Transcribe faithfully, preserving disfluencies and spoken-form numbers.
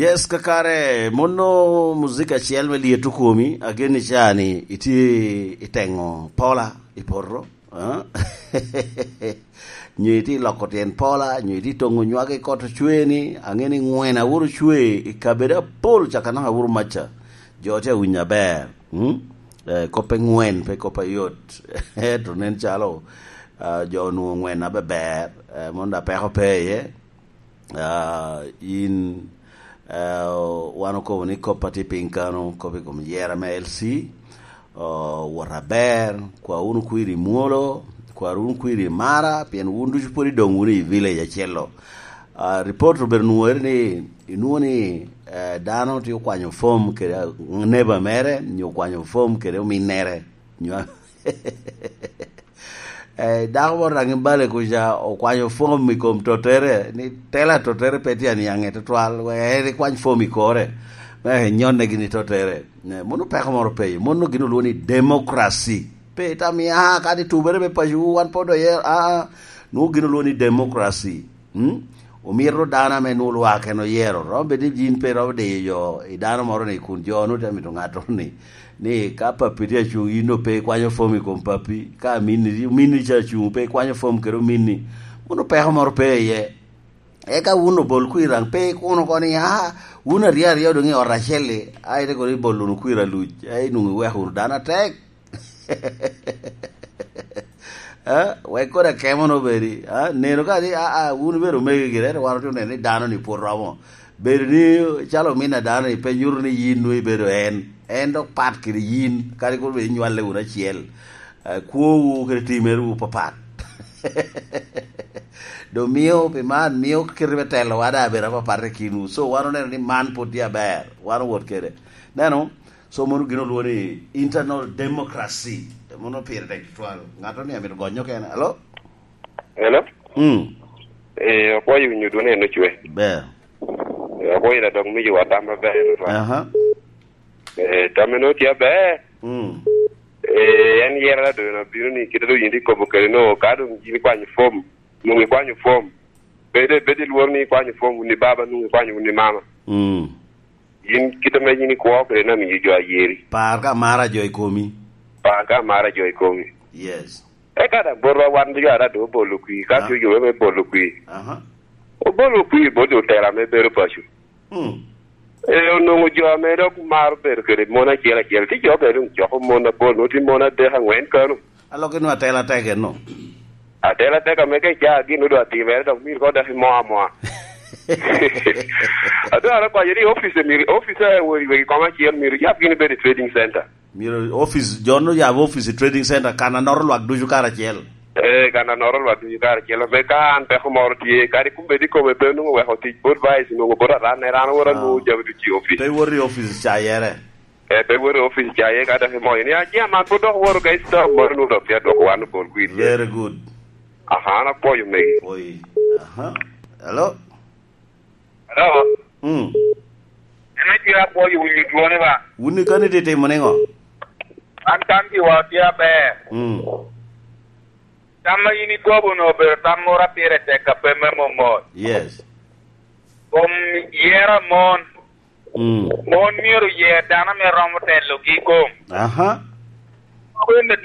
Yes, kakare, mono muzika acel me lyeto komi, agen ni cani itye i teŋo pola i poto, eh? Nyo itye i loko tyen pola, nyo itye i toŋo nywage i kot ocwe ni, aŋe ni ŋwen awuro cwe i kabedo apol caka naka awuro maca. Jo tye awinyo aber, mm? Eh, kop eŋwen, pe kop ayot. Ento nen calo, ah, jo onwoŋo ŋwen abeber, eh, mono da peko pe iye. Ah, in, eh, wan okobo ni kop a tye piny kano, kop i kom yera me L C, oh, wot aber, kwa wunu kwir i mwolo, kwa wunu kwir i mara, pien wun ducu pwod idoŋ wunu i village acel-lo. Ah, report obedo nwore ni, inwoŋo ni, eh, dano tye okwanyo fom kede, ah, neba mere, nyo okwanyo fom kede ominnere, nyo Eh, dako moro daŋ i Bale kuca okwanyo fom i kom tottere, ni tela tottere pe tye aniaŋe tutwal, wek en ekwany fom i kore, me enyonne gin i tottere. Eh, mono peko moro pe iye, mono gin olwongo ni democracy. Pe itam ni, "Ah, kadi tubere me paco, wan pwod oye," ah, ah, nwoŋo gin olwongo ni democracy. Mm? Omito dano ame nwoŋo lwak en oyero. Romo bedo ni yin pe iromo diyo jo i dano moro ni kun jo nwoŋo te mito ŋattoro ni, ni ka papi tye acuŋ, yin doŋ pe ikwanyo fom i kom papi. Ka ominni, ominni ca acuŋ, pe ikwanyo fom kede ominni. Mono peko moro pe iye. Eka wun obol kwir daŋ pe ikuno oko ni, "Ah, wun aryo aryo doŋ i ot acel-li, a ite kono ibol wunu kwir aluc, a inwoŋo iweko wunu dano atek." Eh, wek kodi akemo no bedi, ah, neno ka ni, ah, ah, wun ibedo omego gire, ento wan otye oneno ni dano ni pwod romo. Bedo ni calo omin a dano ni pe nyuto ni yin nwoŋo ibedo en. En dok pat kede yin, kadi kono bed inywale wunu acel. Eh, kwowu kede timerewu papat. Doŋ mio, pi man, mio kite me telowa daŋ abedo apapat i kinwu. So, wan oneno ni man pwod tye aber. Wan owot kede. Neno, so mono gin olwongo ni internal democracy. Mono pire tek tutwal. Ŋato ni amito gonyo kene. Alo? Hello? Mm. Eh, apwoyo winyo dwoni en ocwe. Ber. Eh, apwoyo da dok miyo wa tam maber tutwal. Aha. Eh, tam en otye aber. Mm. Eh, en yera da dono bino ni kite do yin ikobo kede no, ka dong yin ikwanyo fom, nung ikwanyo fom. Bede, bede ilwor ni ikwanyo fom wun i baba, nung ikwanyo wun i mama. Mm. Yin kite me yin ikwo kede na miyo jo ayeri. Par ka mara jo i komi. Par ka mara jo i komi. Yes. Eka daŋ botwa wan jo ara doŋ obolo kwir, ka Ah. tye jo me bolo kwir. Aha. Obolo kwir bot otela me bedo paco. Hmm. E, onwoŋo jo ame dok maro bedo kede mon acel acel, tye jo bene doŋ coko mon apol, nwoŋo tye mon adek aŋwen kano. Alok inwoŋo atela tek eno. Atela tek ame ka icaa gin odwa timere, dok myero kono dok imo amoa. Adwaro konyo ni office myero, office wegi, wegi koma acel myero yab gin bedo i trading center. Myero office, jo no yab office i trading center, kan anoro lwak ducu karacel. Eh, kan anoro lwak ducu karacel. Ame ka an peko moro tye, kadi kun bed ikome pe onwoŋo weko tic bot vice, onwoŋo bot aran, ran owot Ah. anwoŋo jami ducu i office. Pe iwot i office cayere. Eh, pe iwot i office caye, ka dok imoyo ni, "Ah, chairman, pwod dok woro ga i staff moro, nwoŋo dok tye adwoko wan obol kwir." Very good. Aha, an apwoyo megi. Oi. Aha. Hello? Hello? Mm. En aco apwoyo winyo dwone ba. Wun ikani tye timo niŋo? An kan giwa tye aber. Mm. Tam ma in ikobo-nu obedo tam moro a pire tek a pe me momot. Yes. Kom yero a mon. Mm. Mon myero oyer dano ame romo telogi i kom. Aha. Kwene